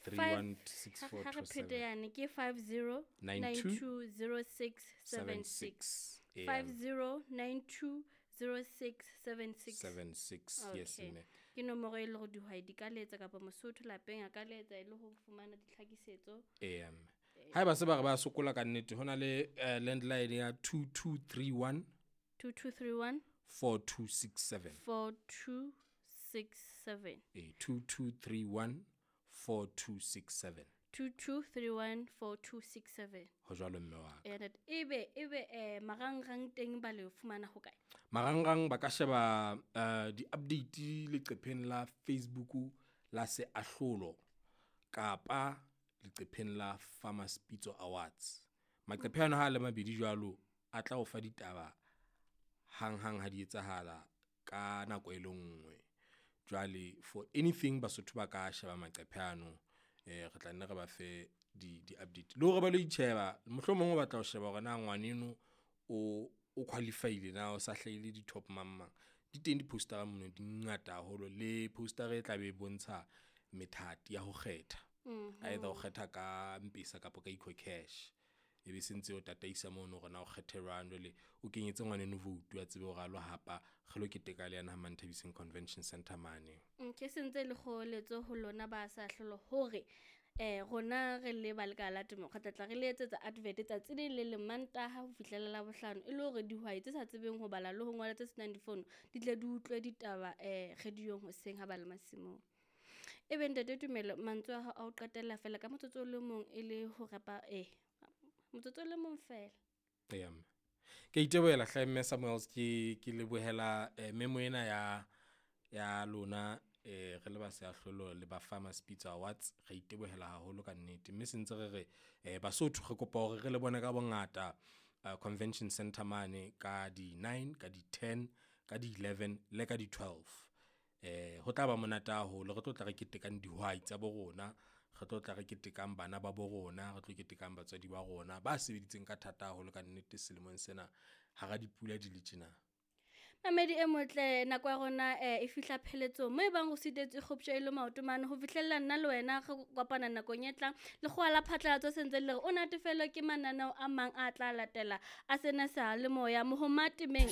3164 Ha re phete yane ke 50 92 92 06 76. 76. 50 92 06 76. 76, yes Okay. mme. Ke nomoro e le gore dihwai di ka letsa kapa Mosotho lapeng a ka letsa e le ho fumana ditlhakisetso. Eya mme. Haeba se ba re ba sokola ka nnete, ho na le landline ya 2231 2231 4267. 4267. Eh, 2231 4267. 2231 4267. Ho jwalo mme wa ka. And ebe marangrang teng ba le fumana ho kae? Marangrang ba ka sheba di-update leqepheng la Facebook la Seahlolo kapa leqepheng la Farmers Pitso Awards. Maqephe ano ha a le mabedi jwalo a tla o fa ditaba hanghang ha di etsahala ka nako e le nngwe. Jwale for anything Basotho ba ka sheba maqephe ano, re tla nne re ba fe di-update le hore ba lo itjheba. Mohlomong o batla ho sheba hore na ngwaneno o qualify-ile na o sa hlahile di-top mang mang. Di teng di-poster-a mono di ngata haholo le poster-a e tla be e bontsha methati ya ho kgetha. Either o kgetha ka Mpesa kapa ka Ecocash, e be sentse o tataisa mono hore na o kgethe jwang. Jwale o kenyetse ngwaneno vote a tsebe hore a lo hapa re lo keteka le yena ha Manthabiseng Convention Center mane. Ke sentse le kgoeletso ho lona ba sa hlolo hore rona re le ba lekala la temo re tla tla re le etsetsa advert tsatsi le le leng Mantaha ho fihlela Labohlano, e le hore dihwai tse sa tsebeng ho bala le ho ngola tse senang difono di tle di utlwe ditaba radiong hoseng ha ba le masimong. Ebe ntate Tumelo, mantswe a hao a ho qetella fela ka motsotso o le mong e le ho repa motsotso o le mong fela. Eya mme. Ke itebohela hle mme Samuels, ke lebohela memo ena ya lona re le ba Seahlolo le ba Farmers Pitso Awards. Re itebohela haholo ka nnete, mme sentse re re Basotho re kopa hore re le bone ka bongata Convention Center mane ka di 9, ka di 10, ka di 11 le ka di 12. Ho tla ba monate haholo, re tlo tla re ketekang dihwai tsa bo rona, re tlo tla re ketekang bana ba bo rona, re tlo ketekang batswadi ba rona ba sebeditseng ka thata haholo ka nnete selemong sena hara dipula di le tjena. Mamedi e motle, nako ya rona e fihla pheletsong mo e bang o sitetswe kgoptjo e le maoto mane ho fihlella nna le wena re kopana nakong e tlang. Lekgowa la phatlalatso sentse le re o natefelwe ke mananeo a mang a tla latela a sena sa le moya mohoma temeng.